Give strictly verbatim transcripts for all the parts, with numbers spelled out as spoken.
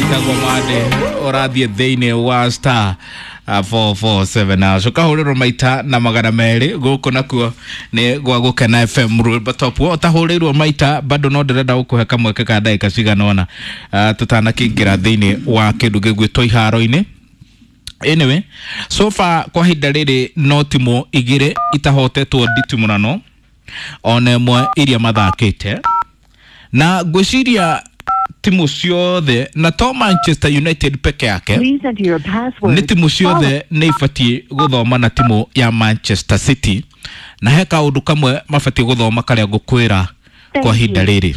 Ĩtagwo Mande. Ũrathiĩ thĩinĩ wa star four four seven hash, ũkahũrĩrwo maita na magana merĩ. Gũkũ nakuo nĩ gwa Gũkena F M, rwĩmbo top. We ũtahũrĩirwo maita bado no ndĩrenda gũkũhe kamweke ka ndagĩka cigana ũna uh, tũtanakĩingĩra thĩinĩ wa kĩndũ gĩgwĩtwo iharo-inĩ. Anyway, so far kwa ihinda rĩrĩ no timũ igĩrĩ itahotetwo nditimũrano ona ĩmwe iria mathakĩte, na ngwĩciria timu ciothe, na to Manchester United peke yake. Please enter your password. Nĩ timu ciothe nĩ ibatiĩ gũthoma na timu ya Manchester City, na he kaũndũ kamwe mabatiĩ gũthoma karĩa ngũkwĩra kwa ihinda rĩrĩ.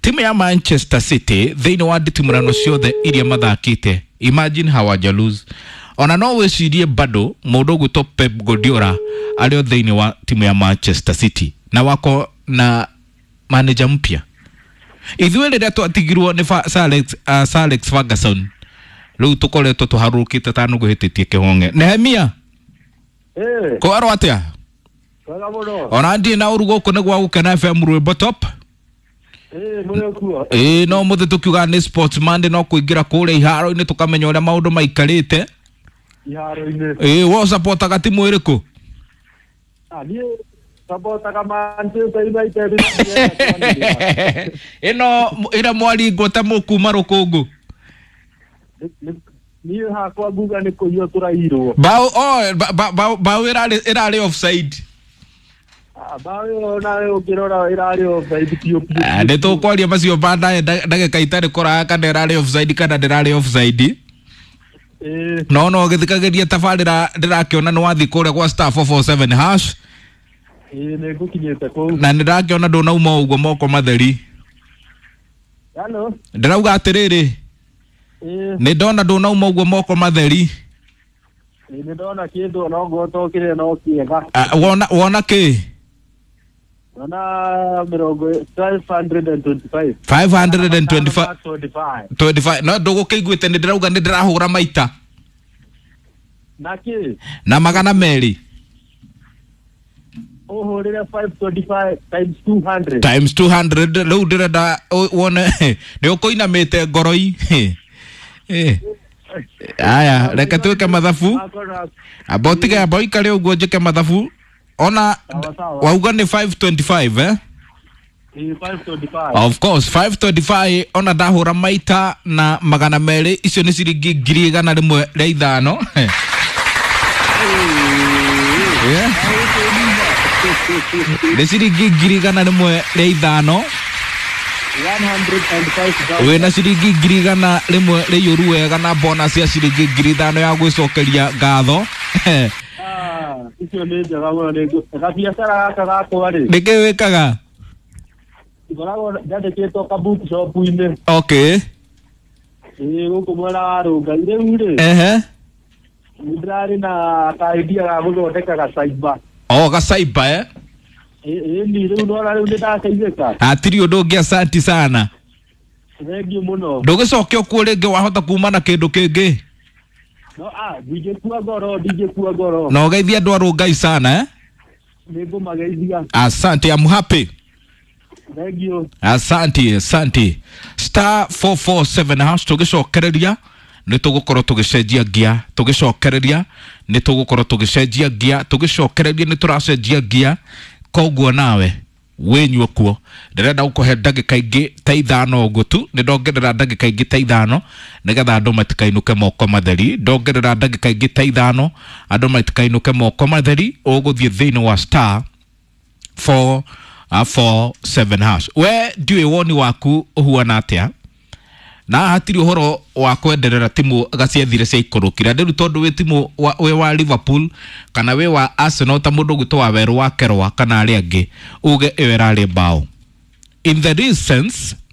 Timu ya Manchester City thĩinĩ wa nditimũrano ciothe iria mathakĩte, imagine, hawaja lose ona. No wĩcirie bado mũndũ ũgwĩtwo Pep Guardiola arĩ o thĩinĩ wa timu ya Manchester City na wako na manager mpya. Ithuĩ rĩrĩa twatigirwo nĩ Fa- Sir Alex, uh, Sir Alex Ferguson, rĩu tũkoretwo tũharũrũkĩte ta nũgũ hĩtĩtie kĩhong'e. Nehemia. Eh, kwarwo atĩa? Wega mũno. Ona ndirĩ na ũru. Gũkũ nĩ gwa Gũkena F M, rwĩmbo top. Eh, mũrĩ kuo. Ĩĩ, no mũthĩ tũkiuga nĩ Sports Monday, no kũingĩra kũrĩa iharo-inĩ tũkamenya ũrĩa maũndũ maikarĩte. Iharo-inĩ. Ĩĩ, we ũcapotaga timu ĩrĩkũ? Ah, niĩ sapotaga Manchester United. Ĩno ĩrĩa mwaringwo ta mũkuma rũkũngũ. Niĩ hakwa nguga nĩ kũiywo tũrairwo. Bao, oh, ba- ba- bao bao ĩrarĩ ĩrarĩ offside. Ah, bao ĩyo nawe ũngĩrora ĩrarĩ offside biũ biũ. Ah, nĩ tũkwaria macio baadaye, nda- ndagĩka itarĩ kũraya, kana ĩrarĩ offside kana ndĩrarĩ offside. Eh, no no gĩthikagĩria tabarĩra, ndĩrakĩona nĩ wathiĩ kũrĩa gwa star four four seven hash. Ĩĩ, nĩ ngũkinyĩte kũu. Na nĩ ndakĩona ndũnauma ũguo moko matheri. Hello. Ndĩrauga atĩrĩrĩ, Ĩĩ, nĩ ndona ndũnauma ũguo moko matheri. Ĩĩ, nĩ ndona kĩndũ ona ũguo tokire no kĩega. Ah, wona wona kĩ? Ndona mĩrongo five hundred and twenty-five. five hundred and twenty-five. twenty-five. twenty-five, no ndũgũkĩiguĩte nĩ ndĩrauga nĩ ndĩrahũra maita Na kĩ? Na magana merĩ. Ũhũrĩre five twenty-five times two hundred. Times two hundred. Rĩu ndĩrenda ũ- wone nĩ ũkũinamĩte ngoroi. Eh. Aya, reke twĩke mathabu. Amba ũtige, amba ũikare ũguo njĩke mathabu ona. Sawa, sawa. Wauga nĩ five twenty-five, eh? Ĩĩ, five twenty-five. Of course, five twenty-five ona ndahũra maita na magana merĩ, icio nĩ ciringi ngiri igana rĩmwe rĩa ithano. Yeah. Nĩ ciringi ngiri igana rĩmwe rĩa ithano. one hundred and five thousand. Wĩna ciringi ngiri igana rĩmwe rĩiyũru wega na bonus ya ciringi ngiri ithano ya gwĩcokeria ngatho. Ah, icio nĩ njega mũno. Nĩ ngũ- gabiacara gaka gakwa rĩ, Nĩkĩ wĩkaga? Ngoragwo njandĩkĩtwo ka bookshop-inĩ. Okay ĩĩ, gũkũ mwena wa Rũngai. Rĩu rĩ, ehe nĩ ndĩrarĩ na ka idea ga gũthondeka gacaiba. O gacaiba, eh? Ĩni, rĩu nona rĩu nĩ ndateithĩka. Hatirĩ ũndũ ũngĩ, asanti sana. Thengiũ mũno. Ndũgĩcoke okuo rĩngĩ, wahota kuma na kĩndũ kĩngĩ. No ah, ndingĩkua ngoro, ndingĩkua ngoro. Na ũgeithie andũ a Rũngai sana, eh? Nĩ ngũmageithia. Asante, I'm happy. Thengiũ. Asante, asante. Star four four seven hash. Tũgĩcokereria nĩ tũgũkorwo tũgĩcenjia ngia, tũgĩcokereria nĩ tũgũkorwo tũgĩcenjia ngia, tũgĩcokereria nĩ tũracenjia ngia. Koguo nawe wĩnyue kuo, ndĩrenda gũkũhe ndagĩka ingĩ ta ithano ũguo tu. Nĩ ndongerera ndagĩka ingĩ ta ithano nĩgetha andũ matikainũke moko matheri. Ndongerera ndagĩka ingĩ ta ithano andũ matikainũke moko matheri. Ũgũthiĩ thĩinĩ wa star four four seven hash. We ndiũĩ woni waku ũhuana atĩa, na hatirĩ ũhoro wa kwenderera timu gaciethire ciaikũrũkire rĩu, tondũ wĩ timu wa, wĩ wa Liverpool kana wĩ wa Arsenal, ta mũndũ ũgwĩtwo wa werũ wa kerwa kana arĩa angĩ uge ĩyo ĩrarĩ bao in the real sense.